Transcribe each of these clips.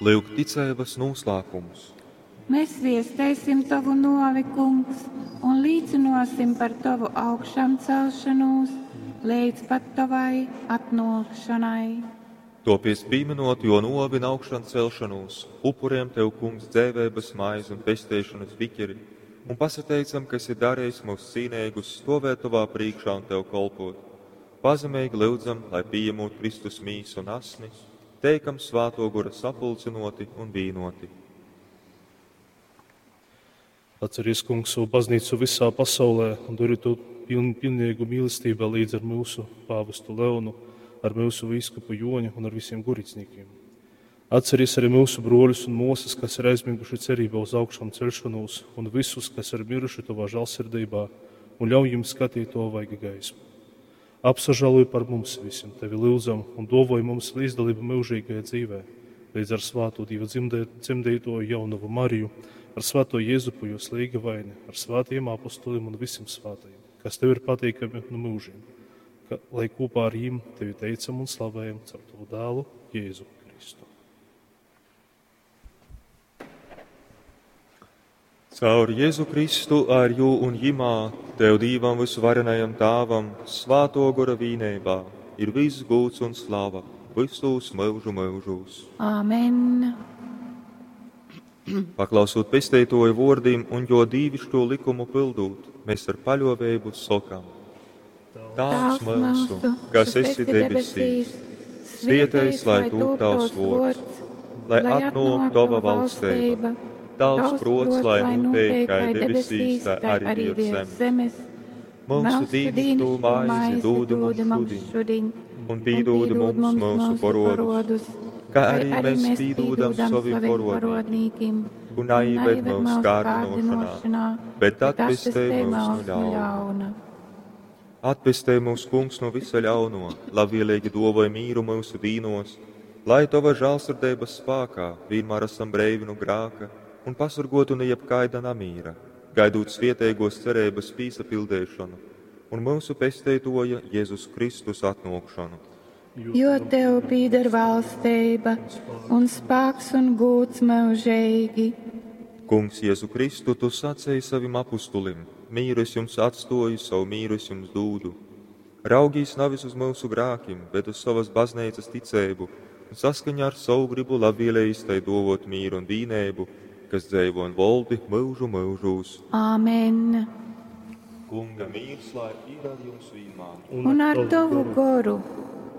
Lyuk ticeibas nūslāpums. Mēs viesteisim tovu nōvi, Kungs, un līcynōsim par tovu augšamcelšonūs leidz pat tovai atnōkšonai. Topies pīminot jo nōvi un augšancelšanos, upuriem Tev, Kungs, dzeiveibas maizi un pesteišanas biķeri, un pasateicam, ka esi darījis mūs cīneigus stovēt Tovā prīkšā un Tev kolpot. Pazemeigi lyudzam, lai pieņemot Kristus mīsu un asni, teikam Svāto Gora sapulcinoti un vīnoti. Atceries, Kungs, savu baznīcu visā pasaulē un dori to pilnīgu mīlestībā līdz ar mūsu pāvestu Leonu, ar mūsu vīskupu Joņu un ar visiem guricniekiem. Atceries arī mūsu broļus un mūsas, kas ir aizmiguši cerībā uz augšām celšanos, un visus, kas ir miruši tavā žēlsirdībā, un ļauj jums skatīt to vaiga gaismu. Apsažāluj par mums visiem, tevi lūdzam, un dovoj mums līdzdalību mūžīgajā dzīvē, līdz ar svāto Dieva dzemdētoju jaunavu Mariju, ar svēto Jēzupu, jo slīga vaini, ar svētajiem apostoliem un visiem svētajiem, kas tev ir patīkami no mūžiem, ka, lai kopā ar viņiem tevi teicam un slavējam caur tavu dēlu Jēzu Kristu. Caur Jēzu Kristu ar jū un jimā, Tev Dīvam visuvarenajam Tāvam, Svāto Gora vīneibā, ir viss gūts un slava visos mūžu mūžos. Āmen. Paklausot pesteitoju vōrdim un jo dīvišķo likumu pildūt, mēs ar paļovēbu sokam. Tāvs mūsu, kas esi debesīs, svietējs, lai tūp tavs vārds, lai atnāk tava valstība, tavs prots, lai notiek kā debesīs, tā arī virs zemes. Mūsu dīnišķo maizi dod mums šodien, un pīdod mums mūsu porodus, kā arī mēs pīdodam saviem porodnīkim, un neieved mūsu kārdinošanā, bet atpestej mūs no ļauna. Atpestej mūs, Kungs, no visa ļauno, labvēlīgi dovoj mīru mūsu dīnos, lai tava žālsirdības spākā vienmēr esam breivi no grāka un pasargotu no jebkaida namīra, gaidot svietēgos cerības pīsapildēšanu un mūsu pesteitoja Jēzus Kristus atnākšanu. Jo tev pīder valstība un spēks un gūts mūžīgi. Kungs, Jēzu Kristu, tu sacēji savim apustulim, mīru es jums atstoju, savu mīru es jums dūdu. Raugīs nevis uz mūsu grākim, bet uz savas baznīcas ticēbu, un saskaņā ar savu gribu labvēlējis tai dovot mīru un vīnēbu, kas dzēvo un voldi mūžu mūžūs. Āmen. Kunga mīrs, lai ir ar jums vienmēr. Un ar tavu goru.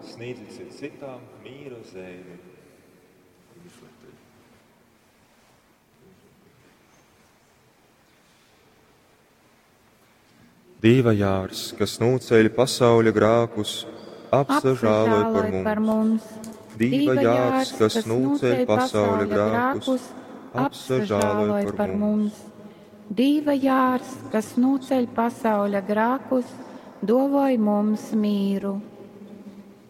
Sniedziet cits citām mīra zīmi. Dīva jārs, kas nūceļ pasauļa grākus, apsažāloj par mums. par mums. Dīva jārs, kas nūceļ pasauļa grākus, apsažāloj par mums. Dīva jārs, kas nūceļ pasauļa grākus, dovoj mums mīru.